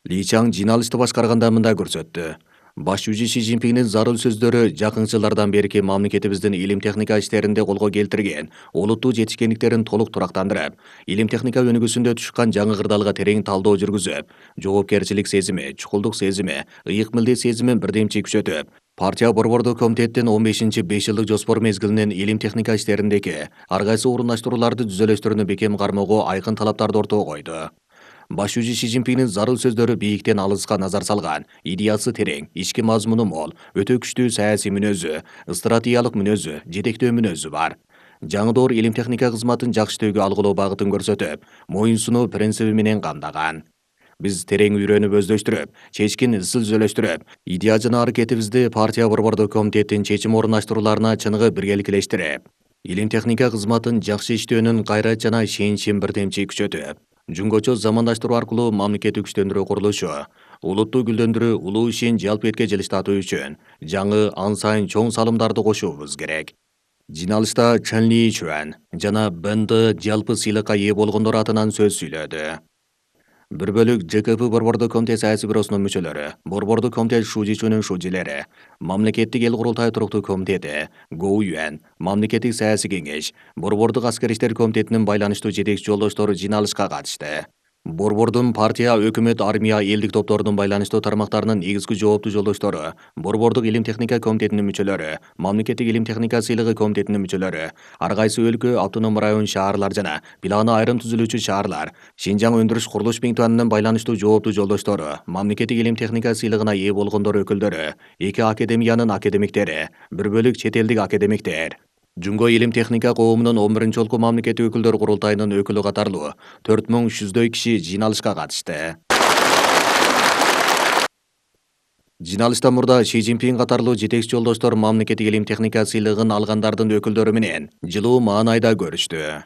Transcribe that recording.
Ли Чаң жиналышты башкарганда мындай көрсөттү. Баш жүзү Си Цзиньпиндин зарыл сөздөрү жакын жылдардан берки мамлекетибиздин илим техника иштеринде колго келтирген олуттуу жетишкендиктерин толук турактандырып, илим техника өнүгүүсүндө түшкөн жаңы кырдаалга терең талдоо жүргүзүп, жоопкерчилик сезими, чукулдук сезими, ыйык милдет сезимин бирдемчи күчөтүп, партия борбордук комитеттин 15-5 жылдык жоспор мезгилинин илим техника иштериндеги ар кайсы орундаштырууларды түзөлөштөрүнү бекем кармоого айкын талаптарды ортого койду. Баш жүзү Си Цзиньпиндин зарыл сөздөрү бийиктен алыска назар салган, идеясы терең, ички мазмуну мол, өтө күчтүү саясий мүнөзү, стратегиялык мүнөзү, жетектөө мүнөзү бар. Жаңы доор илим техника кызматын жакшы иштөөгө алгылоо багытын көрсөтүп, моюн сунуу принциби менен камдаган. Биз терең үйрөнүп өздөштүрүп, чечкин изилдөөлөштүрүп, идея жана аракетибизди партия борбордук комитеттин чечим орунаштырууларына чыныгы биргеликтештирип, илим техника кызматын жакшы иштөөнүн кайрат жана ишеничин бирдемчи күчөтүп, жөнгөчө замандаштыруу аркылуу мамлекетти күчтөндүрүү курулушу, улутту гүлдөндүрүү улуу ишин жалпы этке жылыштатуу үчүн жаңы ан сайын чоң салымдарды кошуубуз керек. Жиналышта Чен Ли Чуан жана Бен Дэ жалпы сыйлыкка ээ болгондор атынан сөз сүйлөдү. Бир бөлүк ЖКП борбордук комитет саясий бюросунун мүчөлөрү, борбордук комитет шужичүнүн шужилери, мамлекеттик эл курултай туруктуу комитети, Гоу Юэн, мамлекеттик саясий кеңеш, борбордук аскер иштер комитетинин байланыштуу жетекчи жолдоштору жиналышка катышты. Борбордун партия, өкмөт, армия, элдик топтордун байланыштуу тармактарынын негизги жооптуу жолдоштору, борбордук илим техника комитетинин мүчөлөрү, мамлекеттик илим техника сыйлыгы комитетинин мүчөлөрү, ар кайсы өлкө, автоном район шаарлар жана планы айрым түзүлүүчү шаарлар, Шинжаң өндүрүш курулуш миңтуанынын байланыштуу жооптуу жолдоштору, мамлекеттик илим техника сыйлыгына ээ болгондор өкүлдөрү, эки академиянын академиктери, бир бөлүк чет элдик академиктер, Жумго илим техника коомунун 11-жолку мамлекеттик өкүлдөр курултайынын өкүлү катарлуу 4300 киши жиналышка катышты. Жиналышта мурда Си Цзиньпин катарлуу жетекчи жолдоштор мамлекеттик илим техника сыйлыгын алгандардын өкүлдөрү менен жылуу маанайда көрүштү.